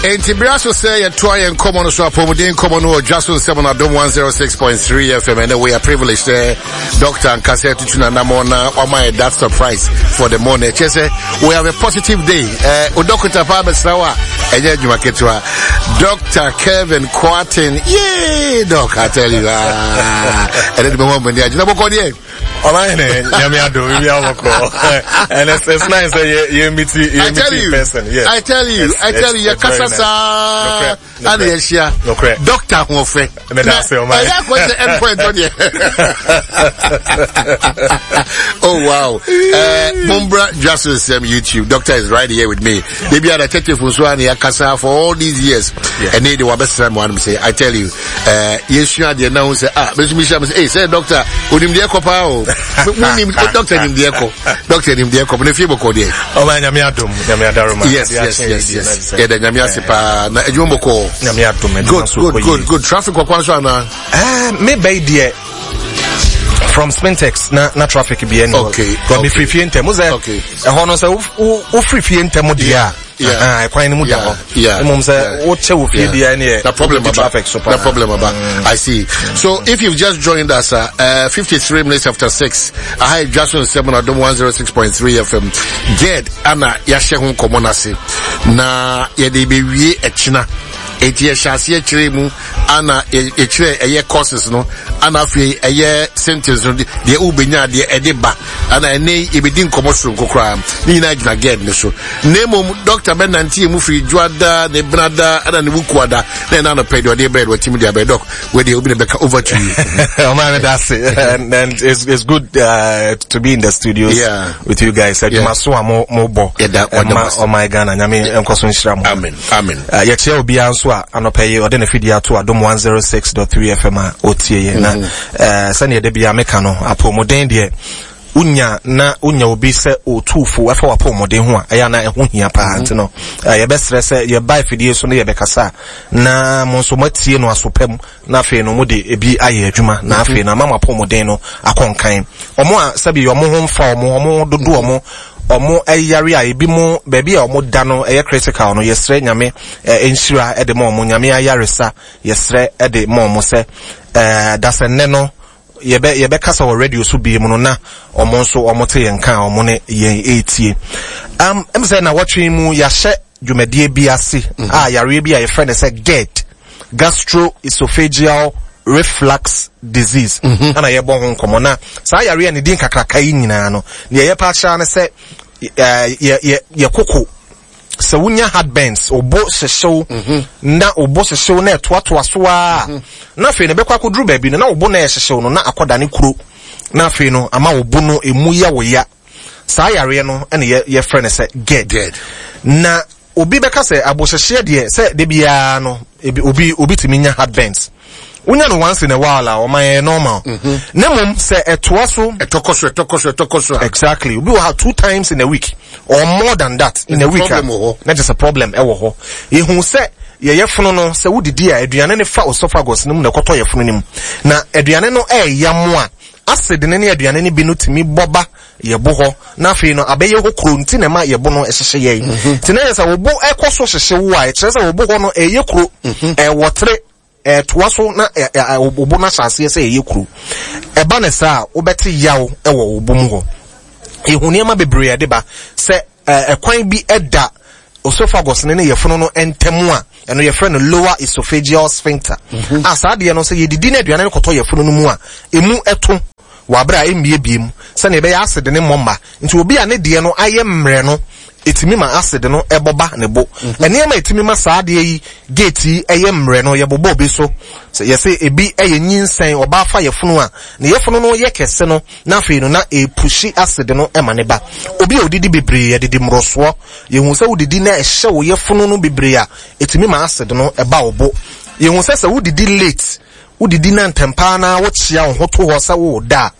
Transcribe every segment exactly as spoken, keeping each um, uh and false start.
Enti bere so sɛ yɛtoa yɛn nkɔmmɔ no so, apɔmuden nkɔmmɔ no wɔ Dwa So Nsɛm no Adom one oh six point three F M. Ɛnɛ we are privileged sɛ Doctor ankasa atutu nanammɔ na wama yɛ that surprise for the morning. Ɛkyɛ sɛ we have a positive day. uh, o dɔkota paa bɛsra wo a, ɛnyɛ adwuma ketewa. Doctor Kevin Kwarteng, yay, Doc, I tell you, ah, ɛnɛ de bɛho amani agyina bɔkɔ deɛ. Ɔman Nyame adom, we are bɔkɔ. And it's, it's nice that you you meet you I meet tell in you, person. Yes. I tell you, It's- I tell it's- you, it's very yɛkasa nice. saa Nokorɛ, ana yɛhyia. Nokorɛ. Doctor ahoɔfɛ. Meda ase, ɔman. Ɛyɛ akɔ sɛ endpoint hɔ deɛ. Oh wow. Uh, Mumbra Dwaso Nsɛm YouTube. Doctor is right here with me. Maybe other detective nso ana yɛakasa for all these years. Yeah. Ɛne de wabɛsra mu anum sɛ, I tell you, uh, yɛsua adeɛ na ho sɛ, ah, bɛsumi hyia me sɛ, hey, sɛ doctor, onim deɛ kɔ paa o. Munim, doctor nim deɛ kɔ. Doctor nim deɛ kɔ. Na fie bɔkɔ deɛ. Ɔman, Nyame adom, Nyame adaroma. Yes, yes, yes, yes. Yɛda Nyame ase paa. Na adwuma bɔkɔ. Nyame adom, adwuma Good, so good, kɔ good, yie. good. Traffic wɔ kwan so anaa? Eh, me bɛyi deɛ from Spintex na na traffic bi ɛni hɔ. Okay, But me okay. firi fie ntɛm. Wo sɛ Okay. ɛhɔ no sɛ wo wo wo firi fie ntɛm deɛ a, Yeah. ah, ɛkwan no mu da Yeah, hɔ. yeah, Mmom sɛ yeah. wokyɛ wɔ fie deɛ, ɛne No problem wodi about traffic so paa. No problem about. I see. So if you've just joined us, uh, uh, fifty-three minutes after six, I had just on seven Adom one oh six point three F M. GERD ana yɛahyɛ ho nkɔmmɔ no ase. Na yɛde bɛwie ɛkyena. Enti yɛhyɛ aseɛ kyerɛ mu ana yɛ- yɛkyerɛ ɛyɛ causes no, ana afei ɛyɛ symptoms no, deɛ wobɛnya, deɛ ɛde ba, ana ɛnɛ yɛbɛdi nkɔmmɔ soronko koraa. Ne nyinaa gyina GERD ne so. Na mmom doctor bɛnante yɛ mu firi Dwoada ne Benada ɛna ne Wukuada na ɛna anɔpɛ deɛ ɔde brɛ de watimi de abɛ. Doc, wedeɛ obi na bɛka, over to you. Ɔman, that's it. And, and it's, it's good uh, to be in the studios Yeah. with you guys. Adwuma so a mo mo bɔ. Yɛda- wɔda mo ase. Ɛma ɔman Ghana, Nyame nkɔ so nhyira mo. Amen, amen. Uh, yɛkyerɛ obiara nso a anɔpɛ yi ɔde ne fidie ato Adom one oh six point three F M a ɔtie yɛ na uh, sɛneɛ da biara meka no, apɔmuden deɛ, wonya na wonya obi sɛ ɔtuufo ɛfa w'apɔmuden ho a, ɛyɛ ana ɛho hia paa. Nti no uh, yɛbɛsrɛ sɛ yɛba afidie so no, yɛbɛkasa a, na mo nso moatie no aso pa mu, na afei no mode ebi ayɛ adwuma, na afei no ama mo apɔmuden no akɔ nkan. Ɔmo a sɛbi ɔmo ho mfa ɔmo, ɔmo dodo, ɔmo ɔmo ɛyare a ebi mo baabi a ɔmo da no ɛyɛ critical no, yɛsrɛ Nyame ɛ nhyira ɛde ma ɔmo, Nyame ayaresa yɛsrɛ ɛde ma ɔmo sɛ ɛɛ dasɛ nnɛ no yɛbɛ yɛbɛkasa wɔ radio so bie mu no, na ɔmo nso ɔmo te yɛn ka a ɔmo ne yɛn ɛretie. um, ɛm sɛ na wɔtwe mu yɛahyɛ dwumadie bi ase a yareɛ bi a yɛfrɛ no sɛ GERD, gastroesophageal reflux disease, ɛna yɛbɔ ho nkɔmmɔ. Na saa yareɛ a ne din kakraka yi nyinaa no, deɛ yɛpɛ akyerɛ ne sɛ ɛɛ, yɛ yɛ yɛ koko sɛ wonya heartburns, obo hyehyew, na obo hyehyew na ɛtoatoa so a, na afei no bɛkɔ akɔduru baabi no na obo na ɛhyehyew no na akɔda ne kuro, na afei no ama obo no emu yɛ wo ya. Saa yareɛ no ɛna yɛ yɛfrɛ no sɛ GERD. GERD. Na obi bɛka sɛ abohyehyeɛ deɛ, sɛ de biara no ebi obi obi tumi nya heartburns, wonya no once in a while a, ɔman, yɛ normal. Na mmom sɛ ɛtoa so, ɛtɔkɔ so, ɛtɔkɔ so, ɛtɔkɔ so a, exactly, obi wɔ ha two times in a week or more than that in a week a, problem wɔ hɔ. Na kyerɛ sɛ problem ɛwɔ hɔ. Yehu sɛ yɛyɛ fono no, sɛ wodidi a, aduane no fa esophagus no mu na ɛkɔtɔ yɛ fono no mu, na aduane no ɛɛya mo a, acid no ne aduane no bi no tumi bɔ ba yɛbo hɔ, na afei no abɛyɛ hɔ kuro, nti na ɛma yɛbo no ɛhyehyɛ yɛn. Nti na yɛ sɛ wo ɛkɔ so hyehyɛ wo a, ɛkyerɛ sɛ wo bo hɔ no ɛyɛ kuro, ɛwɔ tere ɛtoa so na ɛ ɛ wo bo no ahyɛ aseɛ sɛ ɛyɛ kuro. Ɛba ne saa a, wobɛte yaw ɛwɔ wo bo mu hɔ. Ehu nneɛma bebree a ɛde ba sɛ ɛɛ ɛkwan bi ɛda esophagus ne ne yɛfono no ntam a, ɛno yɛfrɛ no lower esophageal sphincter a, saa adeɛ no sɛ yɛdidi na aduane no kɔtɔ yɛfono no mu a, emu ɛto wɔ abere a ɛmmiebie mu sɛnea ɛbɛyɛ acid ne mmɔ mma. Nti obi a ne deɛ no ayɛ mmerɛ no, ɛtumi ma acid no ɛbɔ ba ne bo. Nneɛma a ɛtumi ma saa adeɛ yi gate yi ɛyɛ mmerɛ no, yɛbobɔ obi so sɛ yɛsɛ ebi ɛyɛ nyinsɛn. Ɔbaa fa yɛfono a, ne yɛfono no yɛ kɛse no, na afei no na ɛpush acid no ɛma ne ba. Obi a odidi bebree, yɛdidi mmorosoɔ, yɛhu sɛ wodidi na ɛhyɛ wo yɛfono no bebree a, ɛtumi ma acid no ɛba wo bo. Yɛhu sɛ sɛ wodidi late, wodidi na ntɛmpaa na wokyea wo ho to hɔ sɛ woda a,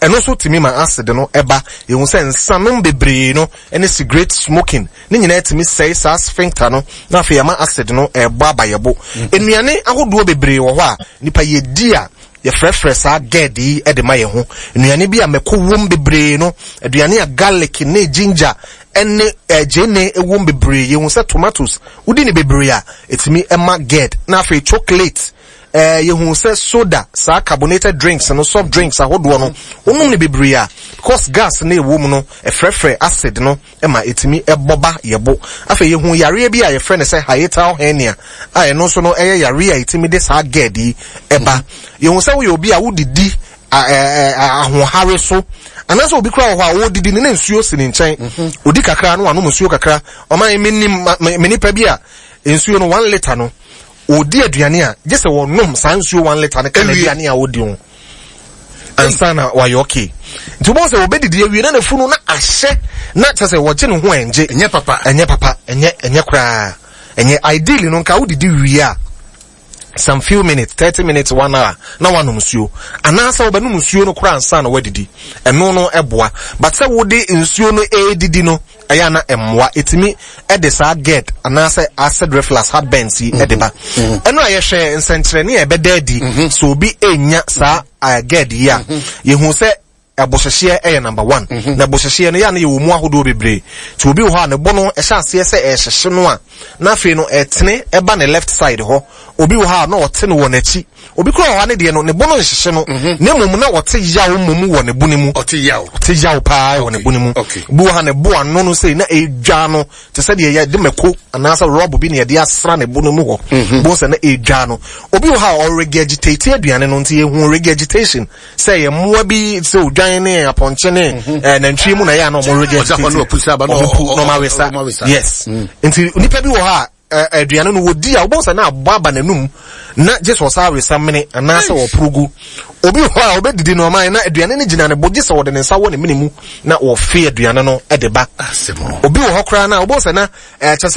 ɛno nso tumi ma acid no ɛba. Yɛhu sɛ nsanom bebree no ne cigarette smoking ne nyinaa tumi sɛe saa sphincter no, na afei ama acid no ɛbɔ aba yɛbo. Nnuane ahodoɔ bebree wɔ hɔ a nipa yɛdi a Yɛfrɛfrɛ saa GERD yi de ma yɛn ho. Nnuane bi a mako wom bebree no, aduane a garlic ne ginger ne eh, gyeene wom bebree. Yɛhu sɛ tomatoes, wodi ne bebree a, ɛtumi ma GERD. Na afei chocolate, eh, yɛhu sɛ soda, saa carbonated drinks no, soft drinks ahodoɔ no, wonom ne bebree a, because gas no ɛwɔ mu no, ɛfrɛfrɛ acid no ma ɛtumi ɛbɔ ba yɛbo. Afei yɛhu yareɛ bi a yɛfrɛ no sɛ hiatal hernia, a ɛno nso no ɛyɛ yareɛ a ɛtumi de saa GERD yi ɛba. Yɛhu sɛ woyɛ obi a wodidi ahoɔhare so, anaasɛ obi koraa wɔ hɔ a ɔredidi no na nsuo si ne nkyɛn, odi kakra na wanom nsuo kakra. Ɔman menim me nipa bi a nsuo no one litre no ɔdi aduane a gye sɛ wɔnom saa nsuo one litre no ka aduane a ɔdi ho ansa na wayɛ okay. Nti wobɛhu sɛ wɔbɛdidi awie na n'afunu na ahyɛ na kyerɛ sɛ wɔgye ne ho ɛngye. Ɛnyɛ papa. Ɛnyɛ papa. Ɛnyɛ ɛnyɛ koraa. Ɛnyɛ ideally no nka wodidi wie a some few minutes, thirty minutes, one hour, na wanom nsuo. Anaasɛ wobɛnom nsuo no koraa ansa na wadidi. Ɛno no ɛboa. But sɛ wode nsuo no ɛredidi no, ɛyɛ ana ɛmmoa. Ɛtumi ɛde saa GERD anaasɛ acid reflux, heartburns yi ɛde ba. Ɛno a yɛhwɛ nsɛnkyerɛnne a ɛbɛda adi sɛ obi ɛnya saa GERD yi a, yɛhu sɛ ɛbohyehyeɛ ɛyɛ number one. Na ɛbohyehyeɛ no yɛ ana yɛwɔ mu ahodoɔ bebree. Nti obi wɔ hɔ a ne bo no ɛhyɛ aseɛ sɛ ɛhyehye no a, na afei no ɛtene ɛba ne left side hɔ. Obi wɔ hɔ a na ɔte no wɔ n'akyi. Obi koraa wɔ hɔ a ne deɛ no ne bo no nhyehye no, na mmom na ɔte yaw mmom wɔ ne bo no mu. Ɔte yaw. Ɔte yaw paa wɔ ne bo no mu. Okay. Obi wɔ hɔ a ne bo ano no sei na ɛdwa no te sɛ deɛ yɛde mako anaasɛ rɔb bi na yɛde asra ne bo no mu hɔ. Bo sɛ na ɛdwa no. Obi wɔ hɔ a ɔregurgitate aduane no, nti yɛhu regurgitation sɛ yɛ mmoa bi sɛ odwan ne apɔnkye ne eh, nantwie mu na yɛ a na ɔmo regurgitate. Ɔgya hɔ na ɔpu saba na Ɔmo pu na ɔmo ɔ- awesa. ɔmo awesa. Yes. Nti nipa bi wɔ hɔ a aduane no wɔdi a wobɛhu sɛ na abɔ aba n'anum na gye sɛ ɔsa awesa mene anaasɛ ɔporo gu. Obi wɔ hɔ a ɔbɛdidi no ɔman na aduane no gyina ne bo gye sɛ ɔde ne nsa wɔ ne mene mu na wɔfe aduane no de ba. Asɛm. Obi wɔ hɔ koraa na wobɛhu sɛ na ɛkyɛ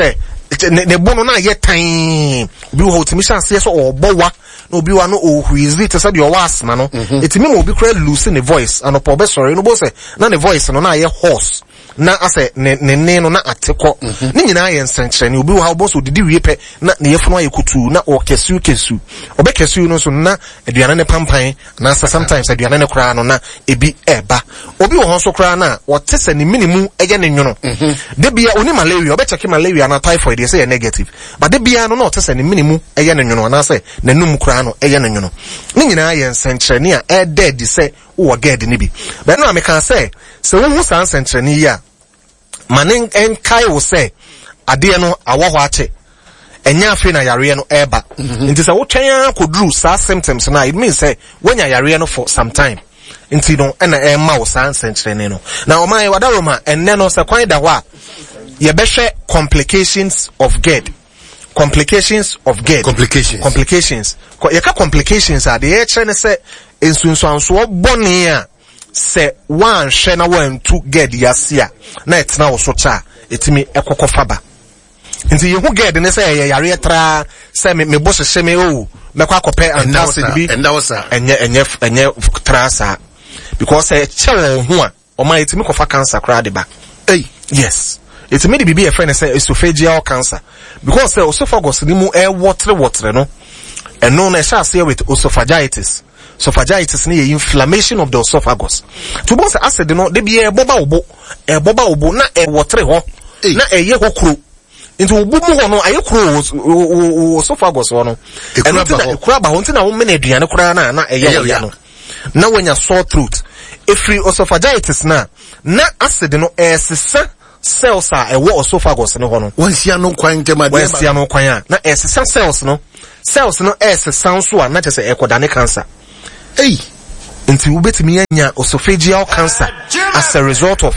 sɛ ne ne bo no na ayɛ tan. Obi wɔ hɔ otumi hyɛ aseɛ sɛ ɔrebɔ wa na obi wɔ no ɔhuizi te sɛ deɛ ɔwɔ asthma no. Ɛtumi ma obi koraa lose ne voice. Anɔpa ɔbɛsɔre no wobɛhu sɛ na ne voice no na ayɛ hoarse, na asɛ ne ne ne no na ate kɔ. Ne nyinaa yɛ nsɛnkyerɛnne. Obi wɔ ha wobɛhu sɛ odidi wie pɛ na ne yafunu ayɛ kutuu na ɔkɛsiw kɛsiw. Ɔbɛkɛsiw no nso na aduane ne pampan anaasɛ sometimes aduane ne koraa no na ebi ɛɛba. Obi wɔ hɔ nso koraa na ɔte sɛ ne mene mu ɛyɛ ne nwono. De bia oni malaria, ɔbɛkyɛke malaria na typhoid yɛ sɛ yɛ negative. But de bia no na ɔte sɛ ne mene mu ɛyɛ ne nwono anaasɛ n'anum koraa no ɛyɛ ne nwono. Ne nyinaa yɛ nsɛnkyerɛnne a ɛɛda adi sɛ wowɔ GERD ne bi. Bɛn no a meka sɛ sɛ wohu saa nsɛnkyerɛnne yi a, ma ne nkae wo sɛ adeɛ no awɔ hɔ akyɛ. Ɛnyɛ afei na yareɛ no ɛreba. Nti sɛ wotwɛn ara kɔduru saa symptoms no a, it means sɛ woanya yareɛ no for some time. Nti no ɛna ɛrema wo saa nsɛnkyerɛnne no. Na ɔman wadaroma ɛnnɛ no sɛ kwan da hɔ a, yɛbɛhwɛ complications of GERD. Complications of GERD. Complications. Complications. Yɛka complications a, deɛ yɛkyerɛ ne sɛ nsunsuansoɔ bɔne a sɛ woanhwɛ na woantu GERD yi ase a na ɛtena wo so kyɛ a ɛtumi ɛkɔkɔ fa ba. Nti yɛhu GERD ne sɛ ɛyɛ yareɛ traa sɛ me bo hyehye me o mɛkɔ akɔpɛ antacid bi. Ɛnda hɔ saa. Ɛnyɛ ɛnyɛ ɛnyɛ traa saa. Because sɛ ɛkyɛ wɔn ho a ɔma ɛtumi kɔfa cancer koraa de ba. Ei. Yes. Ɛtumi de biribi yɛfrɛ no sɛ esophageal cancer. Because sɛ esophagus ne mu ɛwɔtere wɔtere no, ɛno no ɛhyɛ aseɛ with esophagitis. Esophagitis ne yɛ inflammation of the esophagus. To bɔ sɛ acid no de bi ɛbɔ ba wo bo, ɛbɔ ba wo bo na ɛwɔtere hɔ, na ɛyɛ hɔ kuro. Nti wo bo mu hɔ no ayɛ kuro wɔ esophagus hɔ no. Ɛno nti na ekura ba hɔ nti na wo mene aduane koraa na na ɛyɛ wo ya no. Na wanya sore throat. Efiri esophagitis na na acid no ɛsesa cells a ɛwɔ esophagus no hɔ no. Wɔnsia no kwan ntɛm adeɛ ba. Wɔnsia no kwan a na ɛsesa cells no. Cells no ɛsesa nso a na kyerɛ sɛ ɛkɔdane cancer. Ei. Nti wobɛtumi anya esophageal cancer as a result of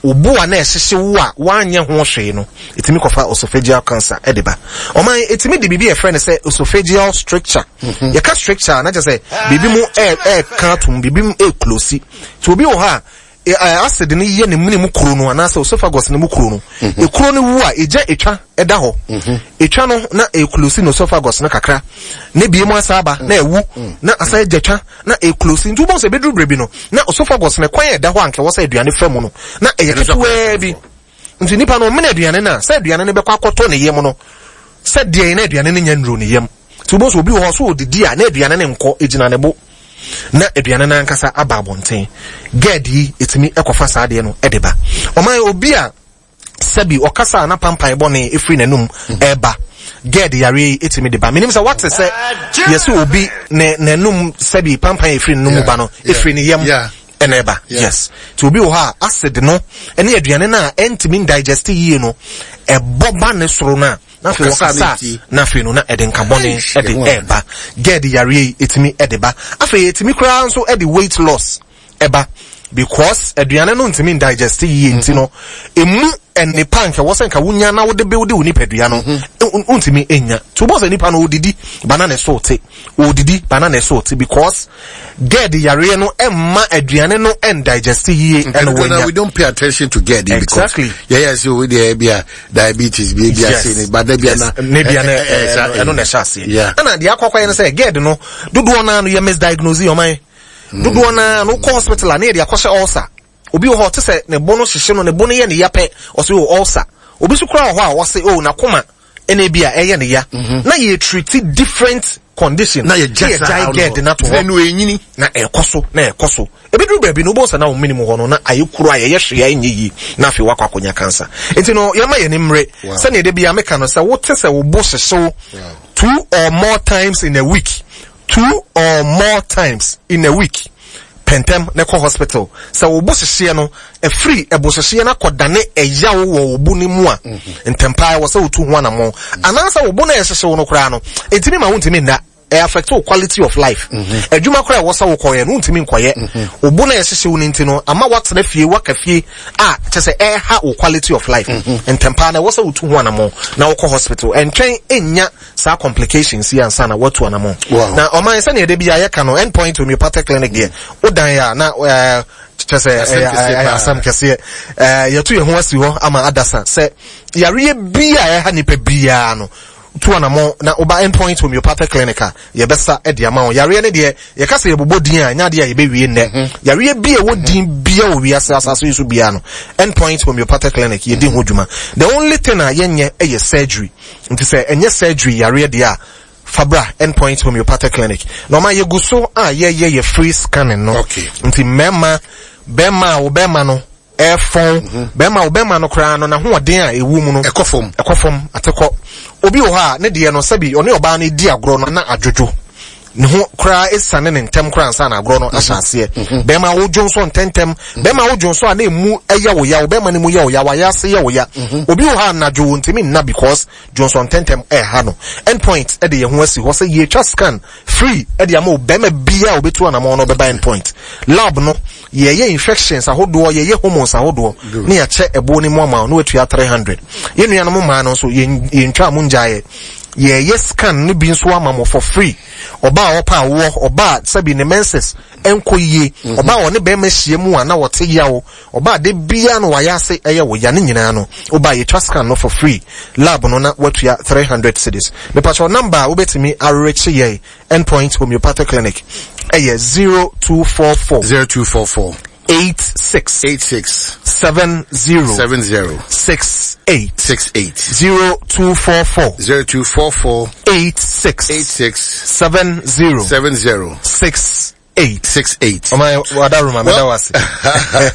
obo a na ɛhyehye wo a wanyɛ ho hwee no, ɛtumi kɔfa esophageal cancer ɛde ba. Ɔman ɛtumi de biribi a yɛfrɛ no sɛ esophageal stricture. Yɛka stricture a na kyerɛ sɛ biribi mu ɛɛka atom, biribi mu ɛɛklosi. Nti obi wɔ hɔ a acid no yɛ ne mene mu kuro no anaasɛ esophagus no mu kuro no. Ekuro no wu a egya etwa ɛda hɔ. Etwa no na ɛɛklosi no esophagus no kakra. Ne bie mu asa aba na ɛwu na asa egya twa na ɛɛklosi. Nti wobɛhu sɛ ebeduru bere bi no na esophagus no kwan a ɛda hɔ a anka ɛwɔ sɛ aduane fa mu no na ɛyɛ ketewaa bi. Nti nipa no ɔmene aduane no a sɛ aduane no bɛkɔ akɔtɔ ne yam no sɛ deɛ na aduane no nya nnuro ne yam. Nti wobɛhu sɛ obi wɔ hɔ so odidi a na aduane no nkɔ egyina ne bo. na aduane no ankasa aba abɔnten. GERD yi ɛtumi ɛkɔfa saa adeɛ no ɛde ba. Ɔman, obi a sɛbi ɔkasa a na pampan bɔne ɛfiri n'anum ɛɛba, GERD yareɛ yi ɛtumi de ba. Menim sɛ wate sɛ yɛsɛ obi ne n'anum sɛbi pampan ɛfiri n'anum ba no ɛfiri ne yam ɛna ɛba. Yes, nti obi wɔ hɔ a acid no ɛne aduane no a ɛntumi ndigest yie no ɛbɔ ba ne soro no a, na afei wɔkasa, na afei no na ɛde nkabɔne ɛde ɛɛba. GERD yareɛ yi ɛtumi ɛde ba. Afei ɛtumi koraa nso ɛde weight loss ɛba, because aduane no ntumi ndigest yie, nti no emu nipa nka wɔ sɛ nka wonya na wode build wo nipadua no, ntumi enya. Nti wobɔ sɛ nipa no odidi ba na ne so te, odidi ba na ne so te, because GERD yareɛ no ɛmma aduane no ɛndigest yie ɛna wɔnya. We don't pay attention to GERD. Exactly. Yeah yeah so we there be a diabetes bi bi ase ne ba da bi na ne bia na ɛno na ɛhyɛ aseɛ. Ɛna deɛ akɔkɔ yɛ no sɛ GERD no, dodoɔ naa no yɛ misdiagnose. Ɔman, dodoɔ naa no kɔ hospital a, ne yɛde akɔhyɛ ulcer. Obi wɔ hɔ ɔte sɛ ne bo no hyehye no, ne bo no yɛ ne ya pɛ, ɔsɛ o ulcer. Obi nso koraa wɔ hɔ a wɔsɛ o n'akoma ɛna ebi a ɛyɛ ne ya, na yɛ treat different condition. Na yɛ gya saa. GERD na to hɔ na ɛnyini. Na ɛkɔ so na ɛkɔ so, ebeduru baabi no, wobɔ sɛ na wɔn minimum hɔ no na ayɛ kuro a yɛyɛ hwee a ɛnyɛ yie, na afei wakɔ akɔnya cancer. Nti no yɛma yɛn mmerɛ sɛnea ɛde bi a meka no sɛ wote sɛ wo bo hyehyew two or more times in a week, two or more times in a week, pɛntɛm na ɛkɔ hospital. Sɛ wo bo hyehyeɛ no ɛfiri ɛbo hyehyeɛ no akɔdane ɛyaw wɔ wo bo no mu a, ntɛmpaa wɔ sɛ wotu ho anammɔn, anaasɛ wo bo no a ɛhyehyew no koraa no ɛntumi ma wontumi nna, ɛ affect wo quality of life. Adwuma koraa ɛwɔ sɛ wokɔyɛ no, wontumi nkɔyɛ. Wo bo no a ɛhyehyew no nti no ama woatena fie, woaka fie a kyɛ sɛ ɛha wo quality of life. Ntɛmpaa na ɛwɔ sɛ wotu ho anammɔn na wokɔ hospital. Ɛntwɛn ɛnya saa complications yi ansa na woatu anammɔn. Na ɔman, sɛnea ɛde bi a yɛka no, Endpoint Homeopathic Clinic deɛ, wodan a na ɛɛ kyɛ sɛ ɛyɛ asɛm kɛseɛ. ɛɛ yɛto yɛn ho asi hɔ ama adasa sɛ yareɛ bi a ɛha nipa biara no, tu anamɔ na woba Endpoint Homeopathic Clinic a, yɛbɛsa de ama wo. Yareɛ no deɛ, yɛka sɛ yɛbobɔ din a, ɛnyɛ adeɛ a yɛbɛwie nnɛ. Yareɛ bi a ɛwɔ din bia wɔ wiase asase yi so biara no, Endpoint Homeopathic Clinic yɛdi ho dwuma. The only thing a yɛnyɛ ɛyɛ surgery. Nti sɛ ɛnyɛ surgery yareɛ deɛ a, fabra Endpoint Homeopathic Clinic. Na ɔma yɛgu so a yɛyɛ yɛ free scanning no. Okay. Nti mmarima, bɛrima a wo bɛrima no ɛfɔn, bɛrima wo bɛrima no koraa no n'ahoɔden a ɛwɔ mu no ɛkɔ fam, ɛkɔ fam atekɔ. Obi wɔ hɔ a ne deɛ no, sɛbi, ɔne ɔbaa no di agorɔ no na adwodwo ne ho koraa, esiane ne ntɛm koraa ansa na agorɔ no ahyɛ aseɛ. Bɛrima wodwo nso ntɛntɛm, bɛrima wodwo nso a na emu ɛyɛ wo ya, wo bɛrima no mu yɛ wo ya, wayɛ ase yɛ wo ya. Obi wɔ hɔ a anadwo ntumi nna because dwonso ntɛntɛm ɛɛha no. Endpoint ɛde yɛn ho asi hɔ sɛ yɛtwa scan free ɛde ama wo. Bɛrima bia a obetu anamɔ no ɔbɛba Endpoint lab no, yɛyɛ infections ahodoɔ, yɛyɛ hormones ahodoɔ, ne yɛakyɛ ɛboɔ no mu ama wo na watua three hundred. Yɛn nuanom mmaa no nso, yɛn yɛntwa mo ngyaeɛ, yɛyɛ scan no bi nso ama mo for free. Ɔbaa a ɔpa awoɔ, ɔbaa a sɛbi ne menses ɛnkɔ yie, ɔbaa a ɔne bɛrima ahyia mu a na wɔte yaw, ɔbaa de bia no wayɛ ase ɛyɛ wo ya ne nyinaa no, ɔbaa yɛtwa scan no for free, lab no na watua three hundred cedis. Mepakyɛw, number a wobɛtumi arekye yɛn Endpoint Homeopathic Clinic ɛyɛ zero two four four zero two four four eight six eight six seven zero seven zero six eight six eight zero two four four zero two four four eight six eight six seven zero seven zero six eight. six eight. Ɔman, wadaroma, mɛda wase.